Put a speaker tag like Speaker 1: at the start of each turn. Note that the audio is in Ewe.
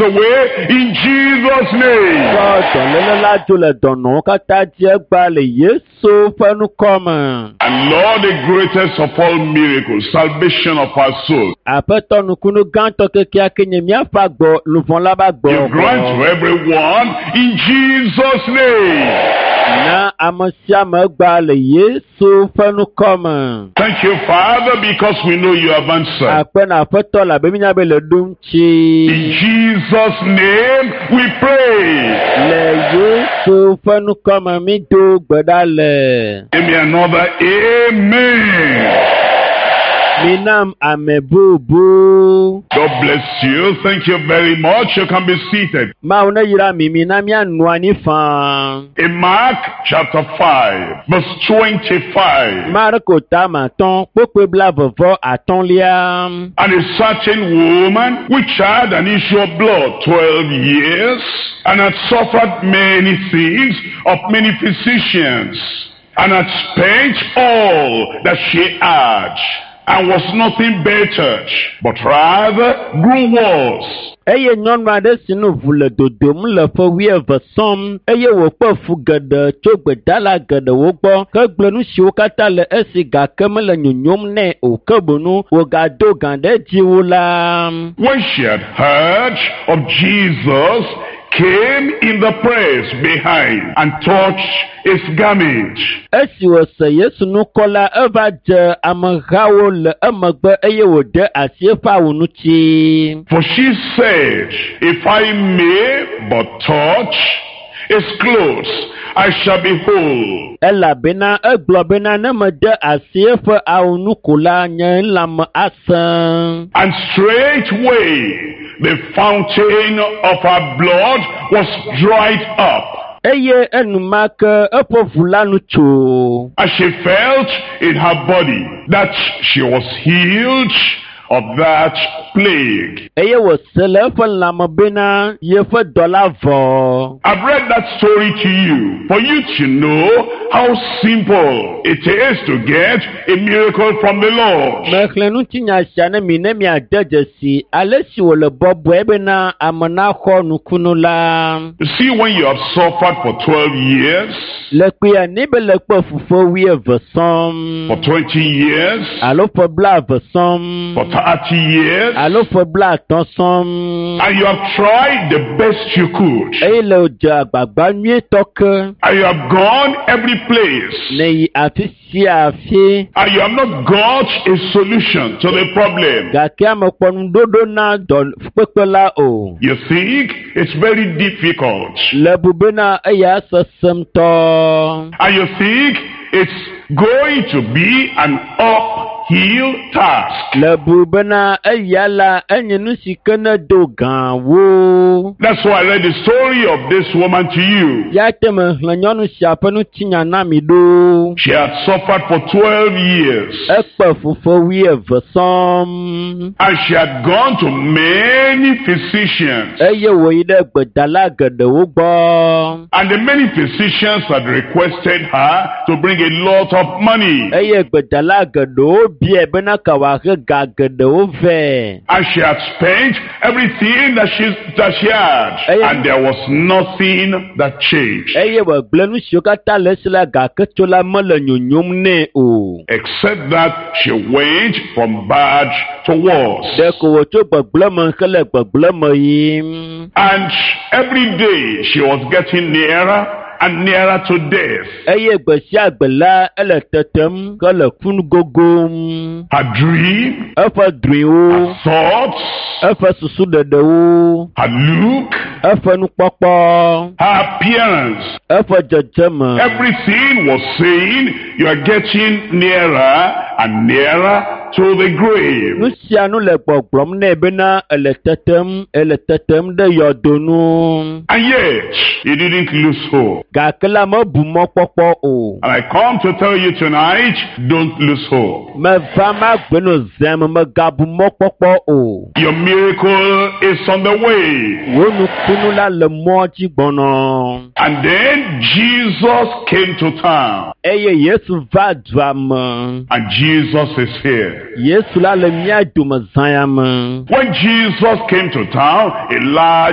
Speaker 1: away in Jesus' name.
Speaker 2: Tsɔ dɔléle la dzo le dɔnɔwo katã dzi egbea le Yesu ƒe ŋkɔ me.
Speaker 1: And Lord, the greatest of all miracles, salvation of our soul,
Speaker 2: Aƒetɔ nukunu gãtɔ kekeake nye míaƒe agbɔ luʋɔ la ƒe agbɔ.
Speaker 1: you grant to everyone in Jesus' name.
Speaker 2: Na ame sia ame egbea le Yesu ƒe ŋkɔ me.
Speaker 1: Thank you, Father, because we know you have answered.
Speaker 2: Akpe na Aƒetɔ labe mínya be le ɖo ŋuti.
Speaker 1: In Jesus' name we pray.
Speaker 2: Le Yesu ƒe ŋkɔ me mi do gbe ɖa le.
Speaker 1: Give me another amen.
Speaker 2: Minam ame bubu.
Speaker 1: God bless you. Thank you very much. You can be seated.
Speaker 2: Mawu ne yra mi mi na míanɔ anyi faa.
Speaker 1: In Mark chapter 5, verse 25.
Speaker 2: Marko tama atɔ̃ kpokpoe blaeve-vɔ-atɔ̃lia.
Speaker 1: And a certain woman which had an issue of blood 12 years, and had suffered many things of many physicians, and had spent all that she had, and was nothing bettered, but rather grew worse.
Speaker 2: Eye nyɔnu aɖe si nu ʋu le dodom le ƒe wuieve sɔm eye wòkpe fu geɖe tso gbedala geɖewo gbɔ hegblẽ nu siwo katã le esi gake mele nyonyom nɛ o ke boŋu wògado gã ɖe edzi wu la.
Speaker 1: When she had heard of Jesus, came in the press behind and touched his garment.
Speaker 2: Esi wòse Yesu ŋkɔ la eva dze amehawo le emegbe eye wòde asi eƒe awu ŋuti.
Speaker 1: For she said, If I may but touch his clothes, I shall be whole.
Speaker 2: Elabena egblɔ bena ne mede asi eƒe awu ŋu ko la nye lãme asẽ.
Speaker 1: And straightway the fountain of her blood was dried up.
Speaker 2: Eye enumake eƒe ʋu la nu tso.
Speaker 1: And she felt in her body that she was healed of that plague.
Speaker 2: Eye wòse le eƒe lãme bena yeƒe dɔ la vɔ.
Speaker 1: I've read that story to you for you to know how simple it is to get a miracle from the Lord.
Speaker 2: Mexlẽ ŋutinya sia ne mi ne miade dzesi ale si wòle bɔbɔe bena ame naxɔ nukunu la.
Speaker 1: You see, when you have suffered for 12 years,
Speaker 2: Le kpuia ne be le kpe fu ƒe wuieve sɔm
Speaker 1: for 20 years,
Speaker 2: alo ƒe blaeve sɔm
Speaker 1: for 30 years,
Speaker 2: alo ƒe blaatɔ̃ sɔm
Speaker 1: and you have tried the best you could,
Speaker 2: eye le wòdze agbagba nyuietɔ ke
Speaker 1: and you have gone every place,
Speaker 2: ne yi afi sia afi
Speaker 1: and you have not got a solution to the problem,
Speaker 2: gake ame kpɔ nuɖoɖo na dɔ kpekpe la o.
Speaker 1: you think it's very difficult,
Speaker 2: Le bu bena eya sesẽ ŋutɔ.
Speaker 1: and you think it's going to be an uphill task.
Speaker 2: Le bu bena eya la enye nu si ke ne do gã wo.
Speaker 1: That's why I read the story of this woman to you.
Speaker 2: Ya te mexlẽ nyɔnu sia ƒe ŋutinya na mi ɖo.
Speaker 1: She had suffered for 12 years.
Speaker 2: Ekpe fu ƒe wuieve sɔm.
Speaker 1: And she had gone to many physicians.
Speaker 2: Eye wòyi ɖe gbedala geɖewo gbɔ.
Speaker 1: And the many physicians had requested her to bring a lot of money.
Speaker 2: Eye gbedala geɖewo biae bena ka wòahe ga geɖewo vɛ.
Speaker 1: And she had spent everything that she had. And there was nothing that changed.
Speaker 2: Eye wògblẽ nu siwo katã le esi la gake tso la mele nyonyom nɛ o.
Speaker 1: Except that she went from bad to worse.
Speaker 2: Ɖeko wòtso gbegblẽ me hele gbegblẽ me yim.
Speaker 1: And every day she was getting nearer and nearer to death.
Speaker 2: Eye gbe sia gbe la ele tetem hele ku gogom.
Speaker 1: Her dream,
Speaker 2: Eƒe drɔ̃ewo,
Speaker 1: her thoughts,
Speaker 2: eƒe susuɖeɖewo,
Speaker 1: her look,
Speaker 2: eƒe nukpɔkpɔ,
Speaker 1: her appearance,
Speaker 2: eƒe dzedzeme.
Speaker 1: everything was saying you are getting nearer and nearer to the grave.
Speaker 2: Nu sia nu le gbɔgblɔm nɛ bena ele tetem, ele tetem ɖe yɔdo nu.
Speaker 1: And yet, he didn't lose hope.
Speaker 2: Gake la mebu mɔkpɔkpɔ o.
Speaker 1: And I come to tell you tonight, don't lose hope.
Speaker 2: Meva magbe no zem megabu mɔkpɔkpɔ o.
Speaker 1: Your miracle is on the way.
Speaker 2: Wò nukunu la le mɔ dzi gbɔnɔ.
Speaker 1: And then Jesus came to town.
Speaker 2: Eye Yesu va dua me.
Speaker 1: And Jesus is here.
Speaker 2: Yesu la le mía dome zã ya me.
Speaker 1: When Jesus came to town, a large